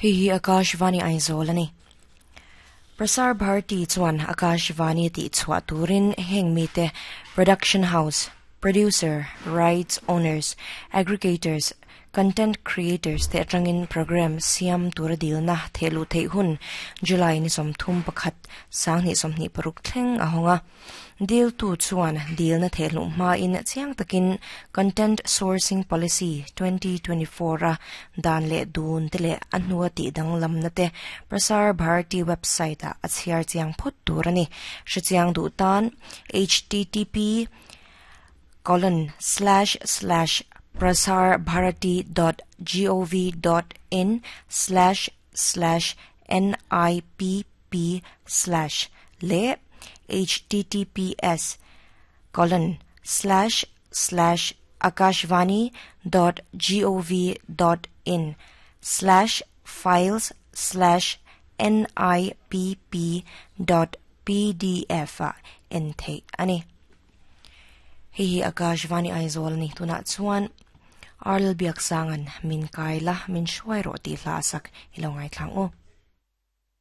Hei hi Akashvani Aizawl a ni. Prasar Bharati chuan Akashvani tih chhuah turin heng mite Production House, Producer, Rights Owners, Aggregators, Content Creators te atangin Programme siam tura dilna thehluh theih hun July ni 31 2026 thleng a hawng a. Diltu chuan dilna thehluh hmain chiang takin Content Sourcing Policy 2024 a dan leh dun te leh a hnua tih danglamna te Prasar Bharati website ah a chhiar chiang phawt tur a ni. Hrechiang duh tan http colon slash slash prasarbharati dot gov dot in slash slash nipp slash leh https colon slash slash akashvani dot gov dot in slash files slash nipp dot pdf ah en theih a ni. Hei hi Akashvani Aizawl a ni. Tunah chuan Arl Biaksanga'n min kai la, min hruai rawh tih hla a sak i lo ngaithlang u.